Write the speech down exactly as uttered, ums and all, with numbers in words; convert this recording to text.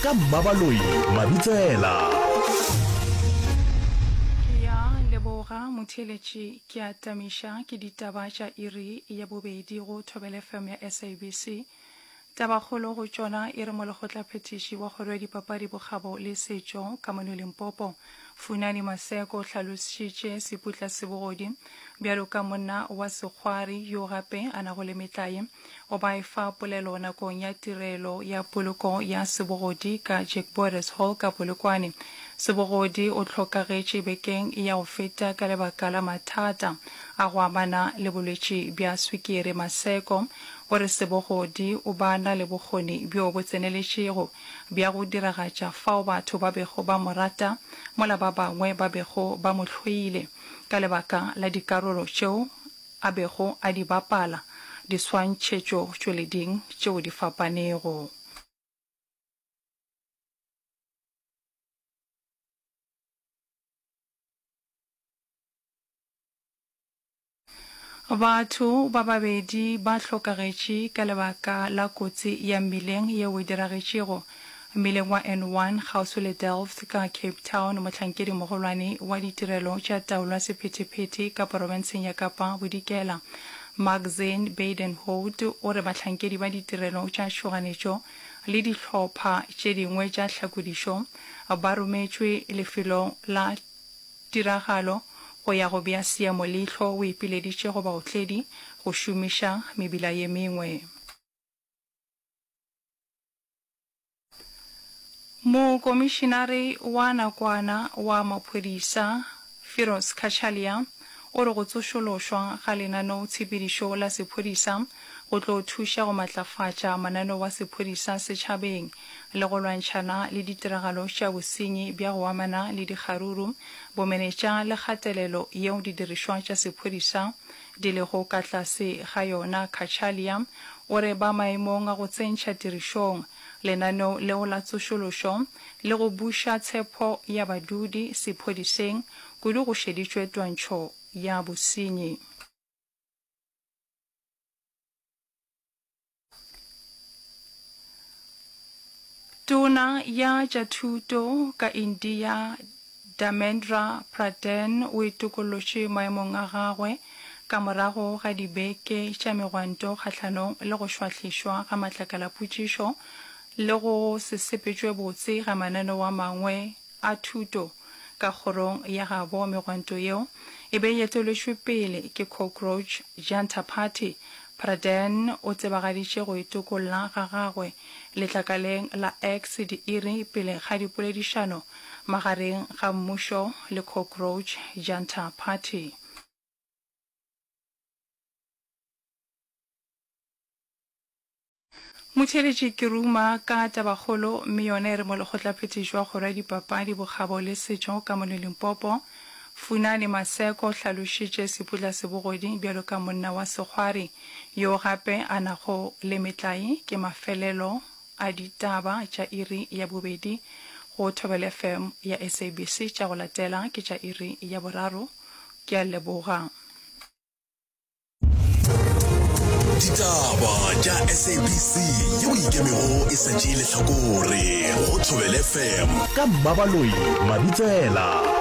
Ka Mmabaloi Mabitsela. Ke ya leboga motheeletši ke a tamiša ke ditaba tša iri ya bobedi go Thobela F M ya S A B C. Tabakgolo go tšona e re molekgotlaphethiši wa kgoro ya dipapadi bokgabo le setšo ka mono Limpopo Funani Maseko o hlalošitše Seputla Sebogodi bjalo ka monna wa sekgwari yo gape a nago le metlae. O ba efa polelo nakong ya tirelo ya poloko ya Sebogodi ka Jack Borders Hall ka Polokwane. Sebogodi o hlokagetše bekeng ya go feta ka lebaka la mathata a go amana le bolwetši bja swikiri. Maseko o re Sebogodi o ba na le bokgoni bjo bo tseneletšego bja go diragatša fao batho ba bego ba mo rata mola ba bangwe ba bego ba mo hloile ka lebaka la dikarolo tšeo a bego a di bapala diswantšhetšotšweleding tšeo di fapanego. Batho ba babedi ba hlokagetše ka lebaka la kotsi ya mmileng yeo e diragetšego mmileng wa N one kgauswi le Delft ka Cape Town. Mohlankedi mogolwane wa ditirelo tša taolo ya sephethephethe ka porofenseng ya Kapa Bodikela, Maxine Badenhout, o re bahlankedi ba ditirelo tša tšhoganetšo le dihlopha tše dingwe tša tlhakodišo ba rometšwe lefelong la tiragalo go ya go bea seemo leihlo. O ipileditše go baotledi go šomiša mebila ye mengwe. Mokomišinare wa nakwana wa maphodisa Firoz Cachalia o re go tsošološwa ga lenaneotshepedišo la sephodisa go tlo thuša go matlafatša mananeo a sephodisa setšhabeng le go lwantšhana le ditiragalo tša bosenyi bja go amana le dikgaruru, bomenetša le kgatelelo yeo didirišwa tša sephodisa di lego ka tlase ga yona. Cachalia o re ba maemong a go tsentšha tirišong lenaneo leo la tsošološo le go buša tshepo ya badudi sephodiseng, kudu go šeditšwe twantšho ya bosenyi. Tona ya tša thuto ka India Dharmendra Pradhan o itokollotše maemong a gagwe ka morago ga dibeke tša megwanto kgahlanong le go šwahlišwa ga matlakalapotšišo le go se sepetšwe botse ga mananeo a mangwe a thuto ka kgorong ya gabo. Megwanto yeo e be e eteletšwe pele ke Cockroach Janta Party. Pradhan o tsebagaditše go itokolla ga gagwe letlakaleng la X diiri pele ga dipoledišano magareng ga mmušo le Cockroach Janta Party. Motheeletši ke ruma ka tabakgolo mme yona e re molekgotlaphethiši wa kgoro ya dipapadi bokgabo le setšo ka mono Limpopo Funani Maseko o hlalošitše Seputla Sebogodi bjalo ka monna wa sekgwari yo gape a nago le metlae. Ke mafelelo a ditaba tša iri ya bobedi go Thobela F M ya S A B C. Tša go latela ke tša iri ya boraro. Ke a leboga. Ditaba tša S A B C yeo e ikemego e sa tšee lehlakore go Thobela F M ka Mmabaloi Mabitsela.